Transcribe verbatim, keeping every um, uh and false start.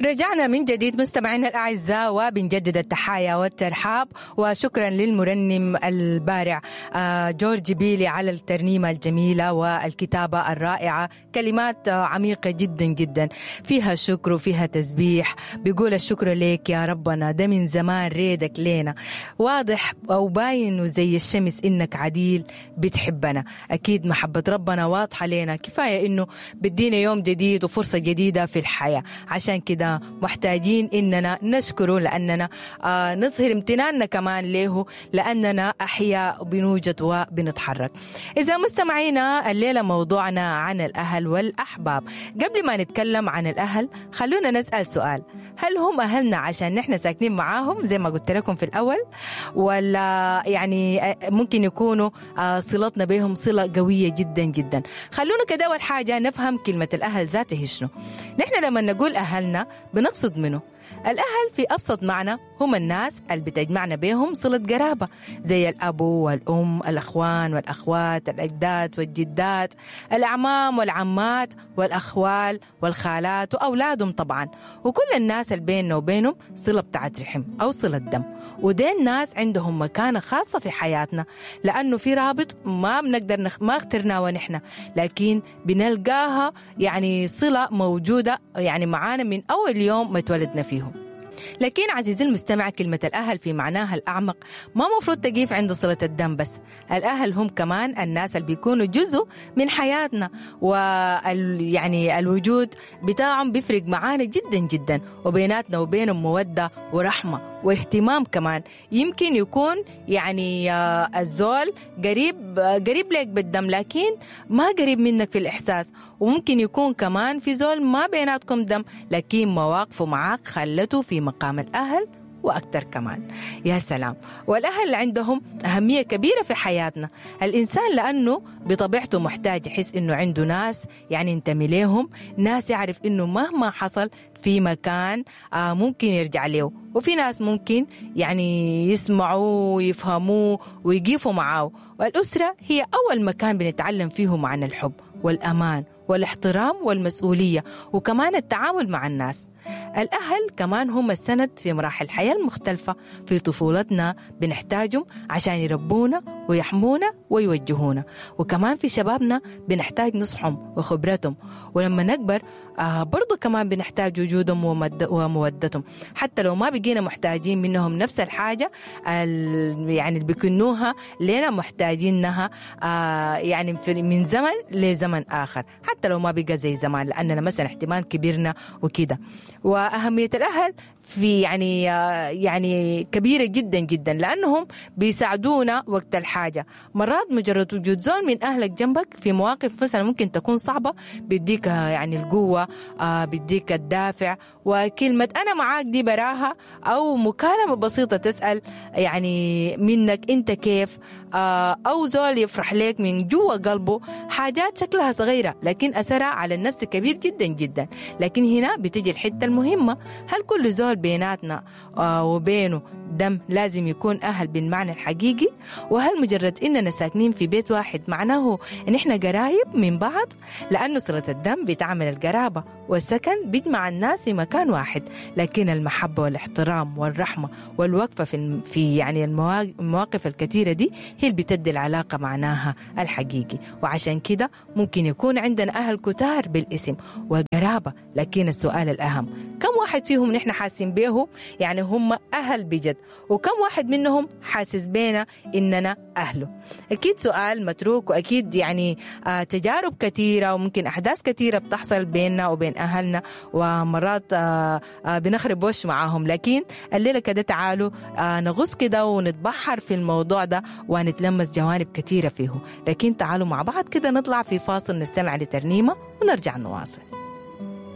رجعنا من جديد مستمعينا الأعزاء، وبنجدد التحايا والترحاب، وشكرا للمرنم البارع جورج بيلي على الترنيمة الجميلة والكتابة الرائعة، كلمات عميقة جدا جدا فيها شكر وفيها تسبيح. بيقول الشكر ليك يا ربنا، ده من زمان ريدك لينا واضح أو باين وزي الشمس إنك عديل بتحبنا. أكيد محبة ربنا واضحة لينا، كفاية إنه بدينا يوم جديد وفرصة جديدة في الحياة، عشان كده محتاجين إننا نشكره، لأننا آه نظهر امتناننا كمان له، لأننا أحياء بنوجد وبنتحرك. إذا مستمعينا الليلة موضوعنا عن الأهل والأحباب. قبل ما نتكلم عن الأهل خلونا نسأل سؤال: هل هم أهلنا عشان نحن ساكنين معاهم زي ما قلت لكم في الأول، ولا يعني ممكن يكونوا آه صلتنا بهم صلة قوية جدا جدا؟ خلونا كده أول حاجة نفهم كلمة الأهل ذاته شنو. نحن لما نقول أهلنا بنقصد منه الأهل في أبسط معنى هم الناس اللي بتجمعنا بهم صلة قرابة، زي الأب والأم، الأخوان والأخوات، الأجداد والجدات، الأعمام والعمات، والأخوال والخالات وأولادهم طبعا، وكل الناس اللي بيننا وبينهم صلة بتاعت رحم أو صلة دم. ودين الناس عندهم مكانة خاصة في حياتنا، لأنه في رابط ما بنقدر نخ... ما اخترناه ونحن، لكن بنلقاها يعني صلة موجودة يعني معانا من أول يوم ما اتولدنا فيه. لكن عزيزي المستمع، كلمة الأهل في معناها الأعمق ما مفروض تقيف عند صلة الدم بس. الأهل هم كمان الناس اللي بيكونوا جزء من حياتنا، وال يعني الوجود بتاعهم بيفرق معانا جدا جدا، وبيناتنا وبينهم مودة ورحمة واهتمام كمان. يمكن يكون يعني الزول قريب قريب لك بالدم لكن ما قريب منك في الإحساس، وممكن يكون كمان في زول ما بيناتكم دم لكن مواقفه معاك خلته في مقام الأهل وأكثر كمان. يا سلام. والأهل عندهم أهمية كبيرة في حياتنا. الإنسان لأنه بطبيعته محتاج يحس إنه عنده ناس يعني ينتمي لهم، ناس يعرف إنه مهما حصل في مكان آه ممكن يرجع له، وفي ناس ممكن يعني يسمعوا ويفهموه ويقفوا معاه. والأسرة هي أول مكان بنتعلم فيه معنى الحب والأمان والاحترام والمسؤولية، وكمان التعامل مع الناس. الأهل كمان هم السند في مراحل الحياة المختلفة. في طفولتنا بنحتاجهم عشان يربونا ويحمونا ويوجهونا، وكمان في شبابنا بنحتاج نصحهم وخبرتهم، ولما نكبر آه برضو كمان بنحتاج وجودهم ومودتهم، حتى لو ما بقينا محتاجين منهم نفس الحاجة يعني اللي بيكنوها لنا محتاجينها آه يعني من زمن لزمن آخر، حتى لو ما بقى زي زمان، لأننا مثلا احتمال كبيرنا وكده. وأهمية الأهل في يعني يعني كبيرة جدا جدا، لأنهم بيساعدونا وقت الحاجة. مرات مجرد وجود زول من أهلك جنبك في مواقف مثلا ممكن تكون صعبة بيديك يعني القوة، بيديك الدافع، وكلمة أنا معاك دي براها، أو مكالمة بسيطة تسأل يعني منك أنت كيف، أو زول يفرح لك من جوا قلبه. حاجات شكلها صغيرة لكن أثرها على النفس كبير جدا جدا. لكن هنا بتجي الحتة المهمة: هل كل زول بيناتنا وبينه دم لازم يكون أهل بالمعنى الحقيقي؟ وهل مجرد إننا ساكنين في بيت واحد معناه إن إحنا قرايب من بعض؟ لأنه صلة الدم بتعمل القرابة، والسكن بيجمع الناس في مكان واحد، لكن المحبة والاحترام والرحمة والوقفة في في يعني المواقف الكثيرة دي هي اللي بتدي العلاقة معناها الحقيقي. وعشان كده ممكن يكون عندنا أهل كتار بالاسم وقرابة، لكن السؤال الأهم: كم واحد فيهم نحن حاسين بيه يعني هم أهل بجد، وكم واحد منهم حاسس بينا إننا أهله؟ أكيد سؤال متروك، وأكيد يعني آه تجارب كثيرة وممكن أحداث كثيرة بتحصل بيننا وبين أهلنا، ومرات آه آه بنخرب وش معاهم. لكن الليلة كده تعالوا آه نغوص كده ونتبحر في الموضوع ده ونتلمس جوانب كثيرة فيه. لكن تعالوا مع بعض كده نطلع في فاصل نستمع لترنيمة ونرجع نواصل.